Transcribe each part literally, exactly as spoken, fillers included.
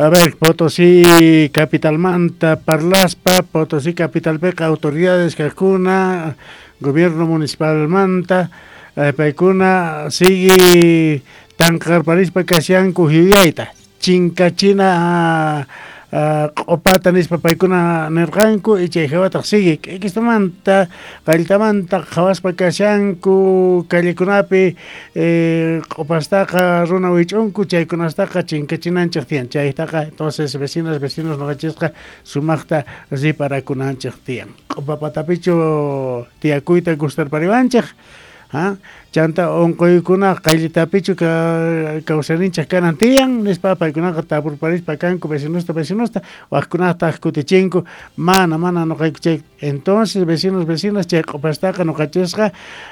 A ver, Potosí capitalmanta parlaspa, Potosí capitalpeqa autoridades kajkuna, gobierno municipalmanta, eh, paykuna sigue tanqarparispa kashanku yuyayta, chinkachina q'opata nispa paykuna nirqanku y chay hawataq sigue k'ikistamanta qalltamanta qhawaspa kashanku callekunapi eh, q'opastaqa runa wich'unku chaykunastaqa chinkachinanchik tiyan chaytaqa entonces vecinas vecinos noqachisqa sumaqta riparakunanchik tiyan q'opa patapichu tiyakuyta gustarpariwanchik. ¿Ah? Chanta onqoykuna qayllitapichu kawsayninchik kanan tiyan nispa paykunaqa tapurparispa kanku vecinosta vecinosta waqkunataq kutichinku mana mana noqayku chay entonces vecinos vecinas chay q'opastaqa noqachisqa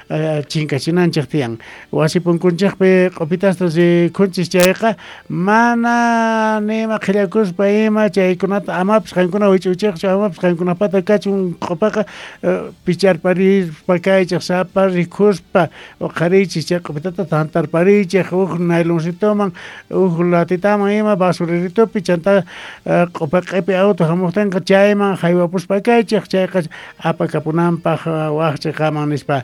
eh, chinkachinanchik tiyan wasi punkunchikpi q'opitasta rikhunchis chayqa mana nima qhillakuspa ima chaykunata amapis qankuna wich'uchikchu amapis qankunapata kachun q'opaqa eh, picharparispa kaychik sapa rikhuspa uqharichis chay q'opitata tantarparichik huk nayloncitoman huk latitaman ima basureritopi chanta q'opa q'ipi auto hamuqtinqa chayman haywapuspa kaychik chayqa apakapunanpaq waq chiqaman nispa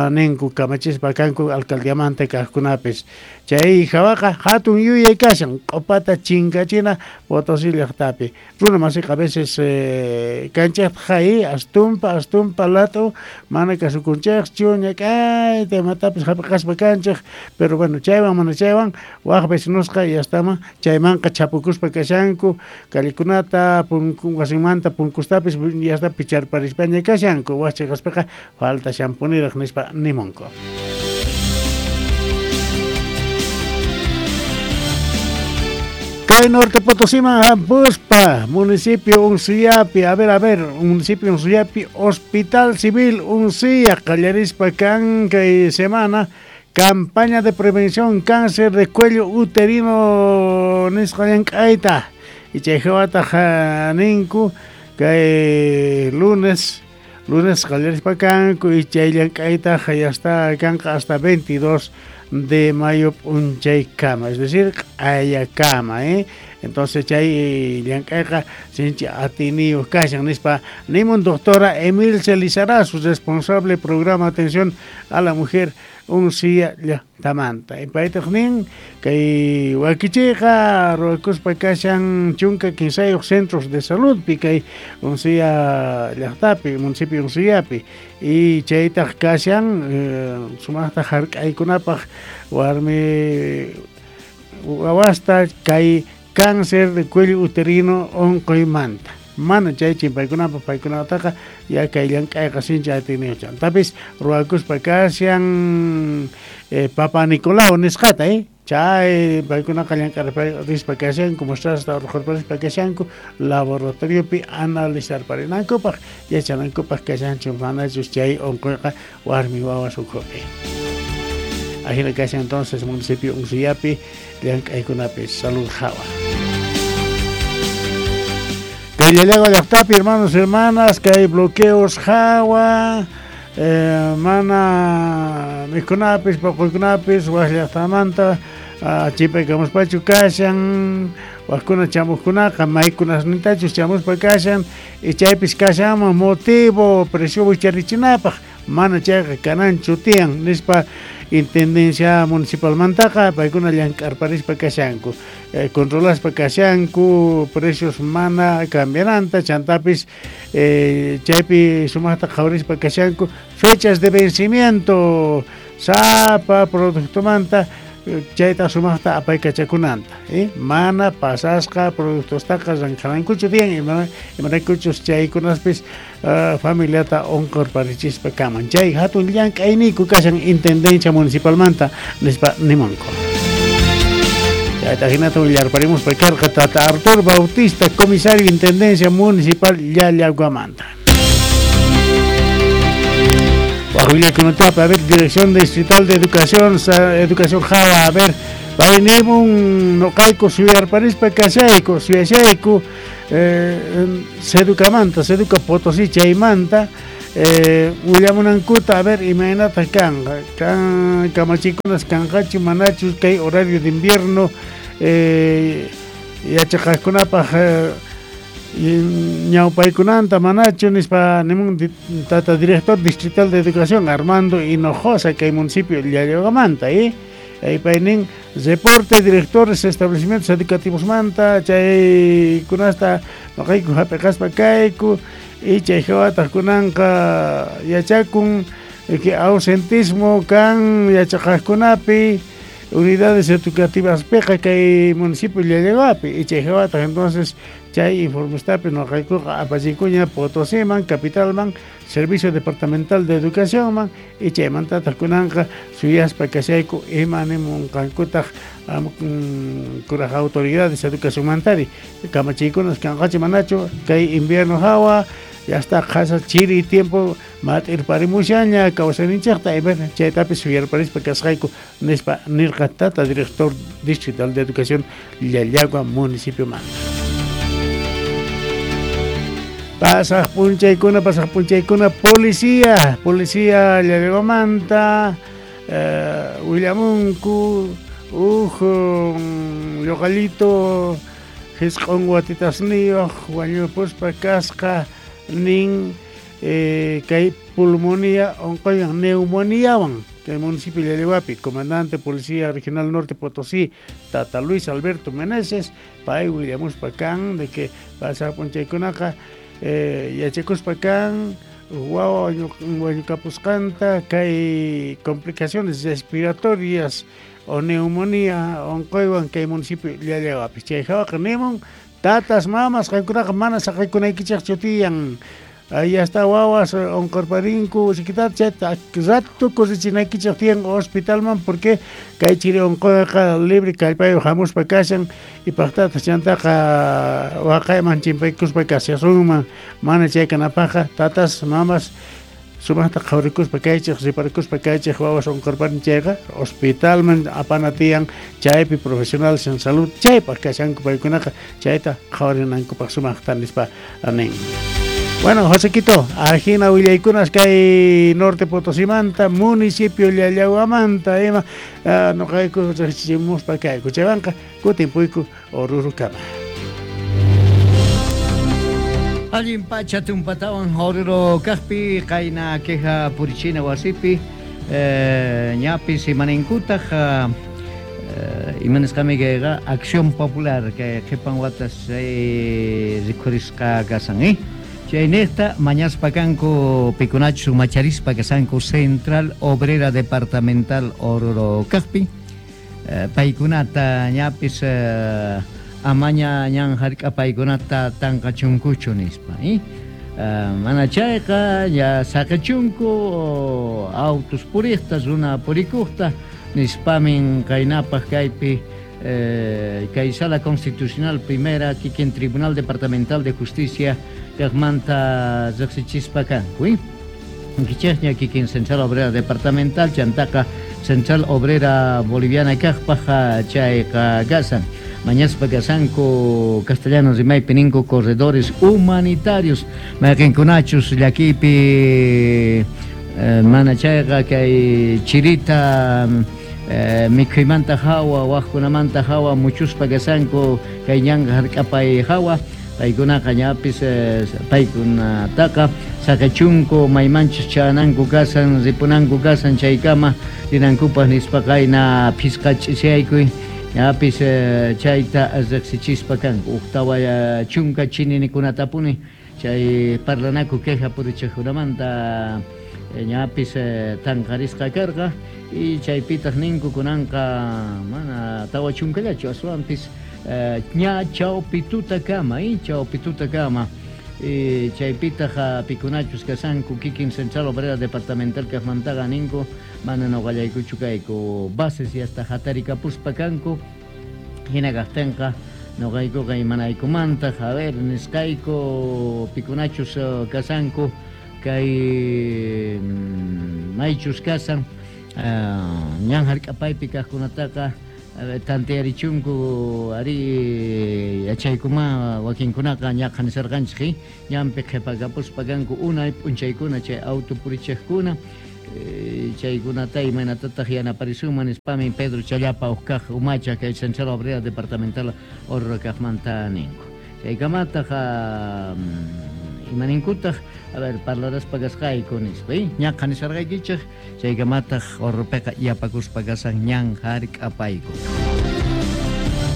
ninku kamachispa kanku alcaldiamanta kaqkunapis chay hawaqa hatun yuyay kashan q'opata chinkachina Potosí llaqtapi runa masiqa a veces eh, kanchikta hay astumpa astumpa lato mana kasukunchikchu ñak'ayta imatapis hap'iqaspa kanchik pero bueno chaywan mana chaywan waq vecinosqa yastaman chaymanqa chapukuspa kashanku callekunata punku wasinmanta punkustapis yasta picharparispaña kashanku waq chiqaspaqa falta shampuniraq nispa nimunku. Kay Norte Potosíman hampuspa, municipio Unsillapi, a ver, a ver, municipio Unsillapi, Hospital Civil Unsilla, qallarispa kan kay semana, campaña de prevención cáncer de cuello uterino nisqa llank'ayta, y chay hawataq ninku kay lunes, lunes qallarispa kanku, y chay llank'ayta ya está kanqa hasta veintidós de mayo p'unchaykama, es decir, q'ayakama, ¿eh? Entonces chay llank'ayqa sinchi atiniyuq kashan nispa nimun doctora Emilce Lizarazu, responsable programa atención a la mujer Unsilla llaqtamanta. Paytaq nin kay wakichiyqa ruwakuspa kashan chunka kinsayuq centros de saludpi kay Unsilla llaqtapi, municipio Unsillapi y chaytaq kashan eh, sumaqta hark'aykunapaq warmi wawasta kay cáncer de cuello uterino onqoymanta. Mana chay chimpaykunapaq paykunataqa ya kay llank'ayqa sinchi atiniyuq chantapis ruwakuspa kashan eh, Papa Nicolau nisqata eh chay paykunaqa llank'arispa kashanku muestrasta urqurparispa kashanku laboratoriopi analizarparinankupaq yachanankupaq kashanchu manachus chay onqoyqa warmi wawas ukhupi. Ajina kashan entonces municipio Unsillapi llank'aykunapi salud hawa. Kay Llallagua llaqtapi, hermanos y hermanas, que hay bloqueos hawa, eh, mana mikhunapis, paquykunapis, waq llaqtamanta, chipaykamuspachu kashan, waqkuna chamuqkunaqa maykunasnintachus chamuspa kashan, y chaypis kashanman motivo precio wicharichinapaq, mana chayqa kananchu tiyan nispa intendencia municipalmantaqa paykuna llank'arparispa kashanku, eh, controlaspa kashanku precios mana cambiananta chantapis eh, chaypi sumaqta qhawarispa kashanku fechas de vencimiento sapa productomanta chayta sumaqta apaykachakunanta, eh? Mana pasasqa productostaqa ranqharankuchu tiyan imaraykuchus chaykunaspis uh, familiata onqurparichispa kaman chay hatun llank'ayniyku kashan intendencia municipalmanta nispa nimunku. Chayta hinata willarparimuspa karqa tata Arturo Bautista, comisario intendencia municipal Llallaguamanta. Bajo a ver, Dirección Distrital de Educación, Educación Java, a ver, vainimun noqayku suyarparispa kashayku, suyashayku, eh, seducamanta, seduca Potosí chaymanta, eh, willamunankuta, a ver, imaynata kanqa, kan kamachikunas kanqachu manachus kay horario de invierno, eh, yachaqaqkunapaq ñawpaykunanta manachu nispa nimun tata director distrital de educación Armando Hinojosa kay municipio Llallahuamanta eh paynin reporte directores establecimientos educativos manta chaykunasta noqayku hap'iqaspa kayku y chay hawataq kunanqa yachakun que ausentismo kan yachaqaqkunapi unidades educativas piqa kay municipio Llallahuapi y chay hawataq entonces chay informestapi noqaykuqa apachikuña Potosíman, capitalman, Servicio Departamental de Educaciónman y chaymantataq kunanqa suyaspa kashayku ima nimunqankutaq kuraj autoridades educacionmantari kamachiykunas kanqachi manachu kay invierno hawa ya está qhasa chiri tiempo mat'irparimushaña kawsayninchikta chaytapis suyarparispa kasqayku nispa nirqa tata director distrital de educación Llallagua municipio manta. Pasaq punchaykuna, pasaq punchaykuna, policía, policía Llallahuamanta, eh, willamunku, uj lluqallito, hisq'un watitasniyuq, wañupuspa kasqa, nin eh, kay pulmonía onqoywan neumoniawan, kay municipio Llallahuapi, comandante Policía Regional Norte Potosí, tata Luis Alberto Meneses, pay willamuspa kan de que pasaq punchaykunaqa Eh, yachakuspa kan wawa wañukapusqanta kay complicaciones respiratorias o neumonía onqoywan kay municipio Llallahuapi chay hawaqa nimun tatas mamas qankunaqa mana saqaykunaykichikchu tiyan ahí hasta wawas onqorparinku sikitata chayta rato kurichinaykichik tiyan hospitalman porque kay chiri onqoyqa libre kallpayuq hamuspa kashan y paqtataq chantaqa waqayman chimpaykuspa kashasunman mana chay kanapaqqa tatas mamas sumaqta qhawrikuspa kaychik riparikuspa kaychik wawas onqorparin chayqa hospitalman apana tiyan chaypi profesionales en salud chaypaq kashanku paykunaqa chayta qhawarinankupaq sumaqta nispa nin. Bueno, Josequito, ajina willaykunas kay Norte Potosimanta, municipio Llallahuamanta, ima uh, noqayku riqsichimuspa kayku chaywanqa kutimpuyku Orurukama. Allin pacha tumpatawan Oruro kaqpi qayna queja purichina wasipi eh, ñapis imaninkutaq uh, imanisqami kayqa Acción Popular kay qhipan watas eh, rikhurisqa kasan eh? Chaynejta mañaspa kanku pikunachus macharispa kasanku Central Obrera Departamental Oruro kaqpi eh, paykunata ñapis eh, amaña ñan hark'a paykunata tanqachunkuchu nispa eh? Eh, mana chayqa ya saqechunku autos puriqta runa purikuqta nispamin qaynapaq kaypi eh, kay Sala Constitucional Primera kikin Tribunal Departamental de Justicia kaqmanta riqsichispa kanku eh? Kichaqña kikin Central Obrera Departamental chantaqa Central Obrera Boliviana kaqpaq chayqa kasan mañaspa kasanku castellano rimaypi ninku corredores humanitarios mayqinkunachus llakipi eh, mana chayqa kay chirita eh, mikhuymanta hawa waqkunamanta hawa muchuspa kasanku kay ñanqa hark'apay hawa paykunaqa ñapis eh, paykunataqa saqechunku maymanchus chananku kasan ripunanku kasan chaykama rinankupaq nispa qayna phisqa ch'isiyaykuy ñapis eh, chayta riqsichispa kanku uqtawa chunka chininikunatapuni chay parlanaku queja purichiqkunamanta ñapis eh, tanqarisqa karqa y chaypitaq ninku kunanqa mana tawa chunkallachu aswanpis ña chawpitutakama eh, chawpitutakama eh, chaypitaq pikunachus kasanku kikin Central Obrera Departamental kaqmantaqa ninku mana nuqallaykuchu kayku bases y hasta hatarikapuspa kanku hina kaqtinqa nuqaykuqa imanaykumantaq a ver nisqayku pikunachus kasanku kay maychus kasan uh, ñan hark'apaypi kaqkunataqa tantearichunku ari yachaykuma wakinkunaqa ñaqa nisarqanchik ñanpi qhipakapuspa kanku unay p'unchaykuna chay auto purichiqkuna Chaykunata imaynatataq yanaparisunman nispami Pedro Challapa uqkaq umacha kay Central Obrera Departamental Oruro kaqmanta ninku. Chaykamataq imaninkutaq, a ver, parlaraspa kasqayku nispa, ñaqa nisarqaykichik, chaykamataq Oruropiqa yapakuspa kasan ñan hark'apayku.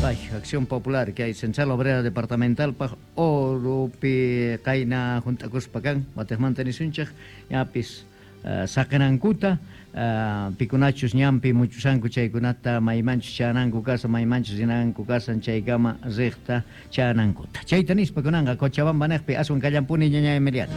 Ay, Acción Popular kay Central Obrera Departamental paq Oruropi qayna junt'akuspa kan watiqmanta nisunchik ñapis uh, saqinankuta uh, pikunachus ñanpi muchusanku chaykunata maymanchus chananku kasan maymanchus rinanku kasan chaykama riqta chanankuta. Chayta nispa kunanqa Cochabamba niqpi aswan kallampuni ñaña Emiliano.